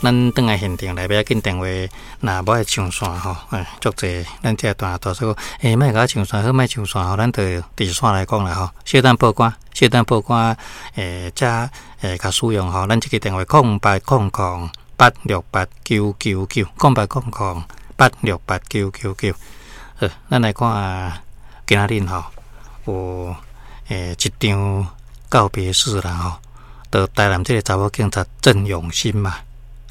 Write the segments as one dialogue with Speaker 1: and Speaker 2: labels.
Speaker 1: 咱轉來現場來，欲緊電話，若無愛上線吼，哎，足濟咱這段大叔，欸，莫共我上線，好莫上線吼，咱就佇線來講啦吼。小等報官，小等報官，欸，才會較使用吼。咱這個電話0800868999，0800868999。好，咱來看今仔日吼有欸一場告別式啦吼，就台南這個查某警察鄭永新嘛。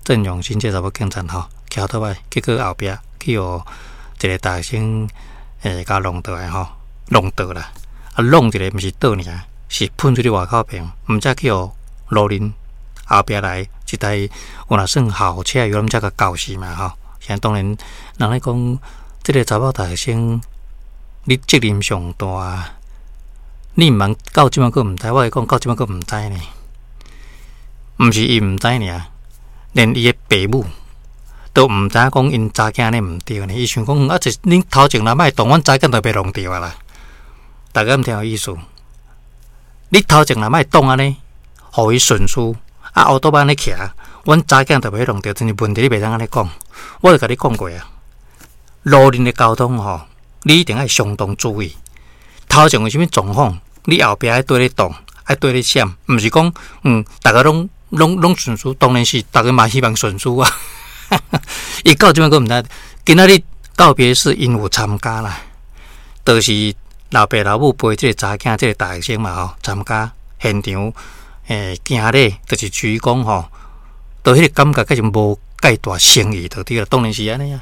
Speaker 1: 鄭永新這查某警察吼，騎歐多擺，結果後壁去予一個大學生欸，共弄倒來吼，弄倒啦。啊，弄一个毋是倒爾，是噴出去外口爿，毋才去予路人後壁來一台有若算豪車，有才共攪死嘛吼。現在當然，人咧講這個查某大學生，你責任上大，你毋通到這擺閣毋知，我會講到這擺閣毋知呢，毋是伊毋知爾。連伊的爸母都毋知影講𪜶查囝按呢毋對呢，伊想講啊，這恁頭前若莫動，阮查囝就袂弄著啊啦。大家敢聽有意思？你頭前若莫擋按呢，予伊順序啊，烏托邦按呢騎，阮查囝就袂弄著。真是問題，你袂當按呢講。我就共你講過啊，路面的交通吼，你一定愛相當注意。頭前有啥物狀況，你後壁愛綴咧擋，愛綴咧閃，毋是講逐家攏。攏攏順序，當然是逐家嘛希望順序啊。伊到這擺閣毋知，今仔日告別式𪜶有參加啦，就是老爸老母陪這個查囝，這個大學生嘛吼參加現場，欸，行禮就是鞠躬吼，都彼個感覺閣是無介大誠意就對啦，當然是按呢啊。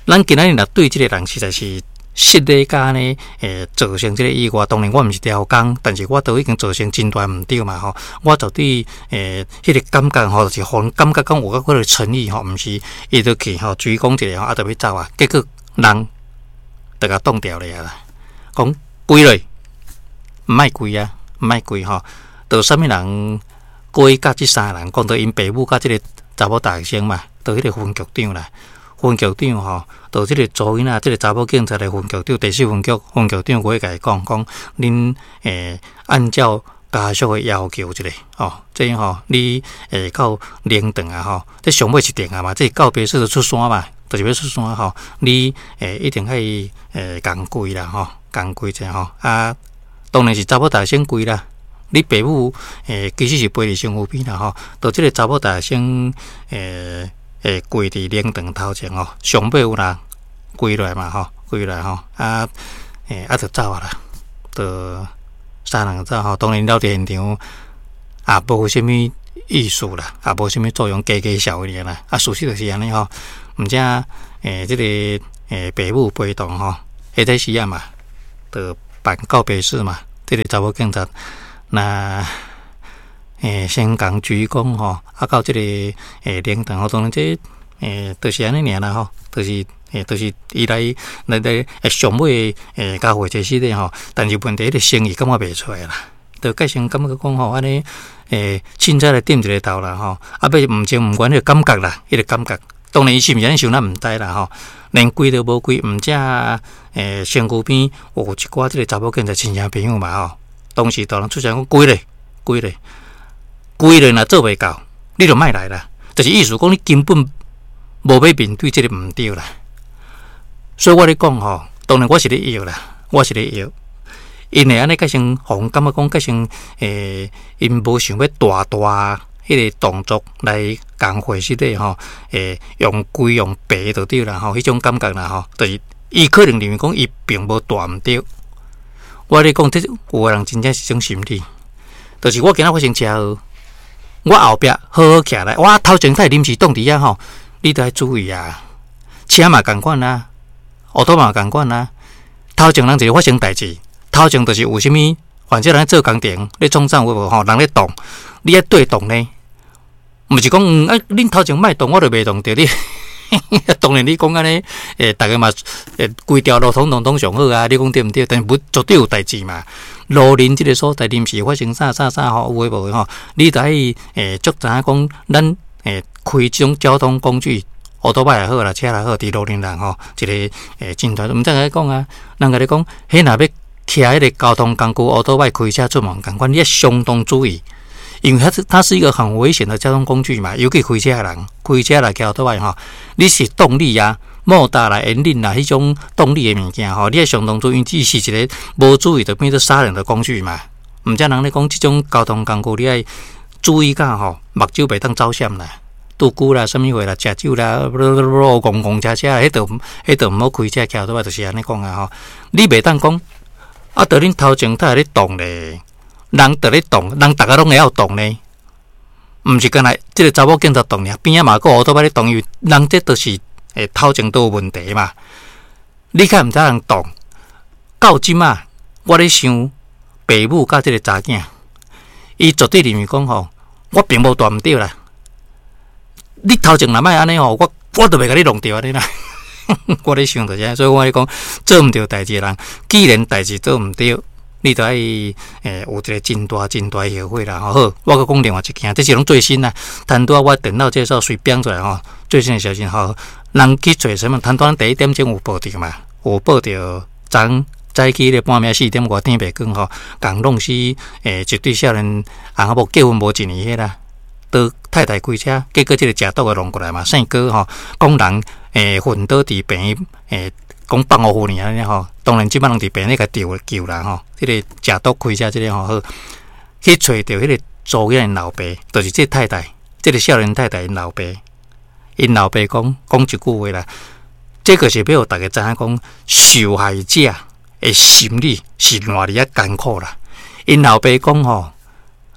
Speaker 1: 咱今仔日若對這個人實在是。失禮佮按呢，欸，造成這個意外。當然我毋是刁工，但是我都已經造成真大毋對嘛吼。我絕對欸，彼個感覺吼，就是予人感覺講有較幾個誠意吼，毋是伊就去吼，鞠躬一下吼，啊，就欲走啊。結果人就共擋掉了啦，講跪落，毋愛跪啊，毋愛跪吼。就啥物人過去佮這三個人講，就𪜶爸母佮這個查某大學生嘛，就彼個分局長啦。分局長吼，就這個查某囡仔，這個查某警察的分局長，第四分局分局長過去共伊講，講恁欸按照家屬的要求一下吼，這吼你會到靈堂啊吼，這上尾一定啊嘛，這告別式就出山嘛，就是欲出山吼，你欸一定愛欸共跪啦吼，共跪者吼啊，當然是查某大學生跪啦，你爸母欸其實是陪佇身軀邊啦吼，就這個查某大學生欸。會跪佇靈堂頭前吼，上尾有人跪落來嘛吼，跪落來吼，啊，欸，啊，就走啊啦，就三人走吼。當然了佇現場也無啥物意思啦，也無啥物作用，加加笑爾啦。啊，事實就是按呢吼，毋才欸，這個欸，爸母陪同吼，彼個時啊嘛，就辦告別式嘛，這個查某警察那。欸，先共鞠躬吼，啊，到這個欸靈堂吼，當然這欸就是按呢爾啦吼，就是欸就是伊來來來上尾欸交會這時咧吼，但是問題彼個誠意感覺袂出來啦，就改成感覺講吼按呢欸凊彩來點一個頭啦吼，啊欲毋情毋願彼個感覺啦，彼個感覺，當然伊是毋是按呢想咱毋知啦吼，連跪都無跪，毋才欸身軀邊有一寡這個查某囝仔親戚朋友嘛吼，當時大人出聲講跪咧，跪咧。跪咧若做袂到，你就莫來啦。就是意思講，你根本無欲面對這個毋對啦。所以我咧講吼，當然我是咧搖啦，我是咧搖。𪜶會按呢，改成予人感覺講，改成欸，𪜶無想欲大大彼個動作來共會失禮吼，欸，用跪用爬就對啦吼，彼種感覺啦吼，就是伊可能認為講伊並無大毋對。我咧講，這有的人真正是這種心理，就是我今仔發生車禍。我後壁好好徛來，我頭前會臨時擋佇遐吼，你著愛注意啊。車嘛仝款啊，烏托嘛仝款啊。頭前人一個發生代誌，頭前就是有啥物，反正人咧做工程，咧創啥有無吼，人咧動，你愛綴動呢？毋是講，啊，恁頭前莫動，我就袂動著你。當然你講按呢，欸，逐家嘛，欸，規條路通通攏上好啊，你講對毋對？但是無絕對有代誌嘛。路面這個所在臨時發生啥啥啥吼，有的無的吼，你著愛欸足知影講，咱欸開這種交通工具，烏托邦也好啦，車也好，佇路面人吼，一個欸真大，毋知共你講啊，人共你講，彼若欲騎彼個交通工具，烏托邦開車出門仝款，你愛相當注意。因為它是一個很危險的交通工具嘛，尤其開車的人，開車來騎倒來吼，你是動力啊、摩打啦、引擎啦，彼種動力的物件吼，你愛相當注意，這是一個無注意就變做殺人的工具嘛。毋才人咧講，這種交通工具你愛注意甲吼，目睭袂當走閃啦。拄久啦，啥物貨啦，食酒啦，戇戇車車，彼就毋好開車騎倒來，就是按呢講啊吼。你袂當講，啊，著恁頭前太咧動咧，人佇咧動，人逐家攏會曉動呢，毋是干焦這个查某警察動爾，邊仔嘛閣烏托邦咧動，因為人這就是頭前都有問題嘛。你較毋知人動，到這馬我咧想，爸母佮這个查囝，伊絕對認為講吼，我並無大毋對啦。你頭前若莫按呢吼，我都袂共你弄著按呢啦。我咧想就是按呢，所以我咧講做毋對代誌的人，既然代誌做毋對，你就愛有一個真大真大的後悔啦。吼，好，我閣講另外一件，這是攏最新啦。攤拄仔我電腦這時隨編出來吼，最新的消息吼，人去揣啥物？攤拄仔第一點鐘有報著嘛？有報著昨早起咧半暝4點外天袂光吼，共弄死一對少年翁仔某結婚無一年彼啦。都太太開車，結果這个食毒的弄過來嘛，姓郭吼，講人昏倒佇病院講放予護爾按呢吼，當然這擺攏佇病院共救救啦吼，彼个食毒開車這个吼好，去揣著彼个查某囝𪜶老爸，就是這太太，這个少年太太𪜶老爸，𪜶老爸講講一句話啦，這個是欲予大家知影講受害者的心理是偌爾仔艱苦啦。𪜶老爸講吼，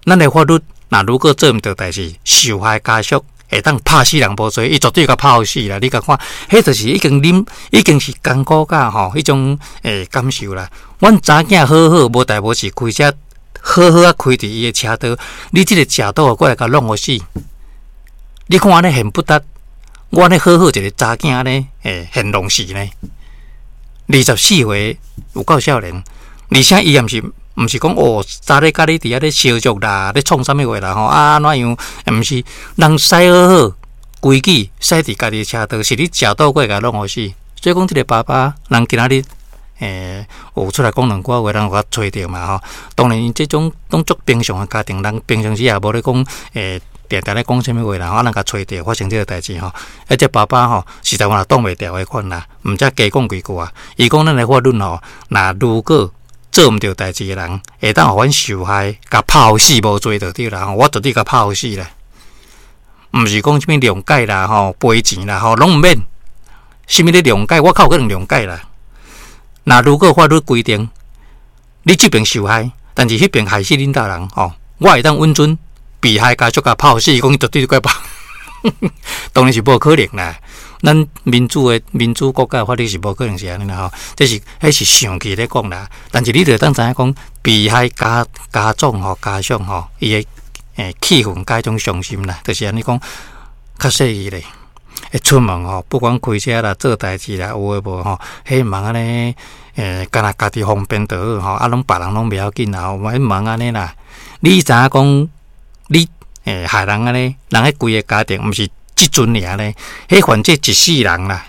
Speaker 1: 咱的法律若如果做毋對代誌，受害家屬會當拍死人無罪，伊絕對共拍予死啦！你共看，彼就是已經啉，已經是艱苦甲吼彼種感受啦。阮查囝好好無代無誌開車，好好仔開佇伊的車道，你這个食毒的過來共弄予死，你看按呢現不得，我按呢好好一个查囝按呢現弄死呢？24歲有夠少年，而且伊也毋是。毋是講哦，早咧佮你佇遐咧相約啦，咧創啥物話啦吼啊，按怎樣？毋是，人駛好好規矩駛佇家己車道，是你食毒過來共弄予死。所以講，這个爸爸，人今仔日有出來講兩句話，人有共揣著嘛吼。當然，這種攏足平常的家庭，人平常時也無咧講定定咧講啥物話啦，啊，人共揣著發生這个代誌吼。啊，這爸爸吼，實在我也擋袂牢的款啦，毋才加講幾句啊。伊講咱的法律吼，若如果做毋對代誌的人，會當予阮受害，共拍予死無罪就對啦。我絕對共拍予死啦。毋是講啥物諒解啦、吼賠錢啦、吼攏毋免。啥物咧諒解，我較有可能諒解啦。若如果法律規定，你這邊受害，但是彼邊害死恁兜人吼，我會當允准被害家屬共拍予死，伊講伊絕對怪拍。當然是無可能啦。咱民主的民主國家的法律是無可能是按呢啦吼，這是彼是上氣咧講啦。但是你著會當知影講，被害家家長吼、家屬吼，伊的氣憤佮彼種傷心啦，就是按呢講較細膩咧。會出門吼，不管開車啦、做代誌啦，有的無吼，彼毋通按呢干焦家己方便就好吼，啊攏別人攏袂要緊啦，吼，毋通按呢啦。你知影講你害人按呢，人彼規个家庭毋是這陣爾呢，彼反正一世人啦，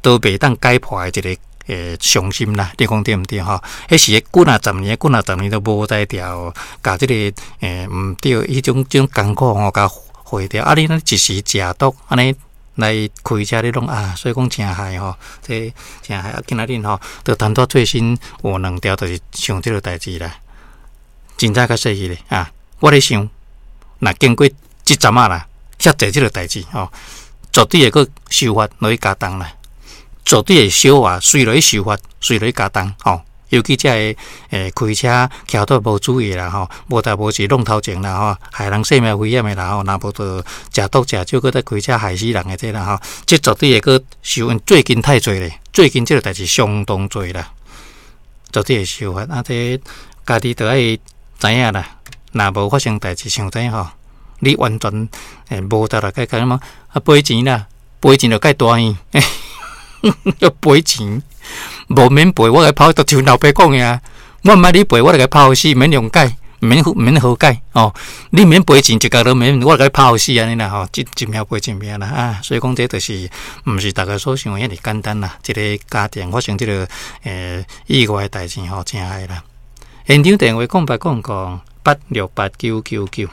Speaker 1: 都袂當解破的一个傷心啦，你講對毋對吼？彼是幾若十年，幾若十年都無才調，共這个毋對，彼種這種艱苦吼，共化掉。啊，你若一時食毒，按呢來開車你攏啊，所以講誠害吼，這誠害。啊，今仔日吼，就談到最新有兩條，就是像這个代誌啦，真正較細膩咧啊！我咧想，若經過這陣仔啦，遐濟這个代誌吼，絕對會閣修法落去加重啦，絕對會小話隨落去修法，隨落去加重吼。尤其這个開車騎倒無注意啦吼，無代無誌弄頭前啦吼，害人性命危險的啦吼，若無就食毒食酒，閣再開車害死人的這啦吼，這絕對會閣修。最近太濟咧，最近這个代誌相當濟啦，絕對會修法。啊，這家己著愛知影啦，若無發生代誌，像這吼，你完全無得來解決嘛？啊，賠錢啦，賠錢就蓋大醫，要賠錢，無免賠，我共拍，就像老爸講的啊，我毋愛你賠，我就共拍予死，免諒解，免免和解哦。你免賠錢，一角都免，我共拍予死按呢啦吼，一一命賠一命啦啊！所以講這就是，毋是逐家所想的遐爾簡單啦。一个家庭發生這个意外的代誌吼，誠害啦。現場電話0800868999。